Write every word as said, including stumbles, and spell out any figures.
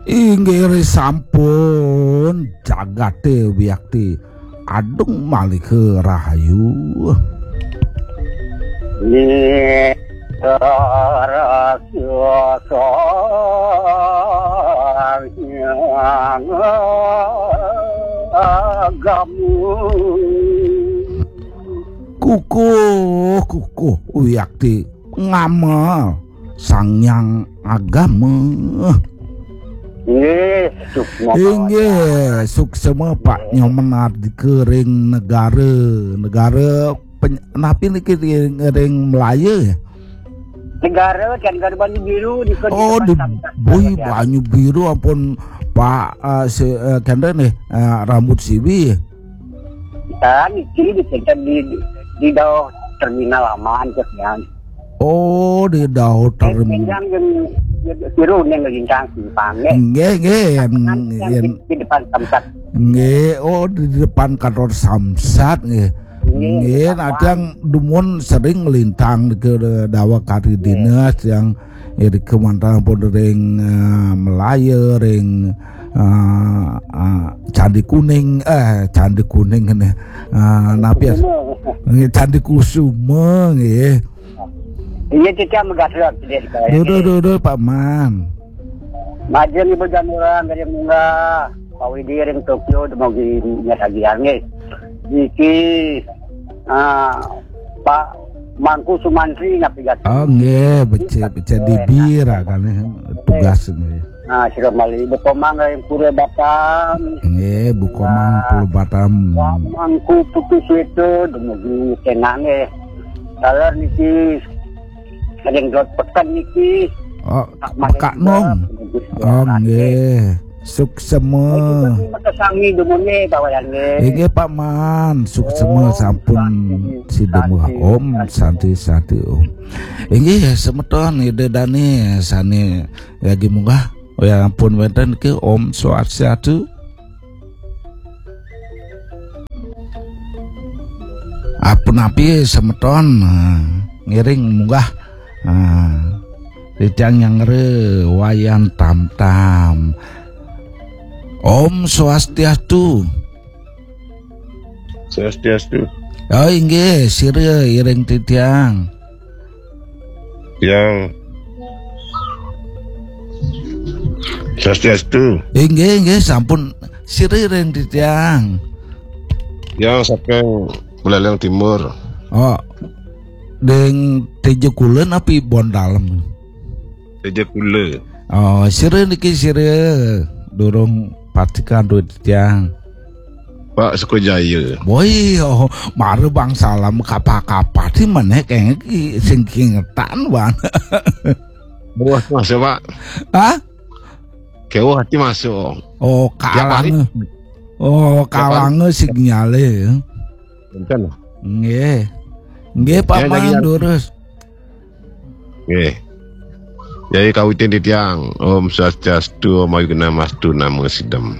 Inggih sampun jagate wiakti adung malih rahayu. Nggih, Rasa Hyang Agama. Kukuh, kukuh, wiakti ngamel Sang Hyang Agama. Nggih, suksma. Inggih, suksma Pak Nyoman Ardika ring negara, negara peny-, napi niki ring, ring Melaya ya? Negara kan negara Banyu Biru di. Oh, di Samsat, Bui ya. Banyu Biru ampun Pak, eh, si, eh, kenten nih, eh, rambut siwi. Kan iki di, di, di, di dauh terminal aman terus ya. Oh, di dauh terminal. Yang, yang biru yang lintang simpang, nggih. Nggih, nggih, yang, yang yang di, di depan Samsat. Nggih, oh, di depan kantor Samsat nggih. Nggih, nggih, Samsat. Nah, yang dumun sering melintang ke dawa kari dinas yang ya di kemantan pun ring, eh, Melaya, ring, eh, eh, Candi Kuning, eh, Candi Kuning ini. Eh, napi ya? Kusuma. Nggih, Candi Kusuma nggih. Iya, cicak megasrot. Duh, duh, duh, duh, Pak Man. Majeng Ibu Janura, Gading Munggah, Pak Widi ring Tokyo, dumugi nyatagian nggih. Niki, ah, Pak Mangku Sumantri napi gati. Oh, nggih, becik, becik dibir, ah, kan, tugas nggih. Nah, sira malih Ibu Komang ring Pura Batam. Nggih, Bu Komang, nah, Pura Batam. Pak Mangku Putu Sweta, dumugi tenang nggih. Taler niki, ring Dot Peken niki. Oh, Pak Mekak Nong. Oh, nggih. Suksema. Makasami dumun nggih, Pak Wayan nggih. Inggih, Pak Man, suksema. Om sampun Santi, sida muah. Santi, Om Santi, Santi, Om. Inggih, semeton Ida Dane sane lagi munggah. Oh ya, ampun wenten ke Om Swastiastu. Ampun api semeton, ah, ngiring munggah. Ah, Rijang Nyangre Wayan Tam Tam. Om Swastiastu. Swastiastu. Oh, inggih, sira iring titiang. Tiang Swastiastu. Inggih, inggih, sampun sira iring titiang. Tiang saking Buleleng Timur. Oh, ding Teja Kula napi Bon Dalem? Teja Kula. Oh, sira niki sira durung patikan duit tiang. Pak Sukajaya. Woi, oh, mara bang salam kapa-kapa di meneh kenging ki sing kingetan, Bang. Wah, masuk, Pak. Hah? Kewah ati masuk. Oh, tiap hari. Kalang. Oh, tiap hari. Kalange sinyale ya. Enten. Nggih. Nggih, Pak. Ya, Man, lagi durus. Nggih. Jadi kawitin titiang, Om Swastiastu, Om Awighnamastu, Namo Siddham.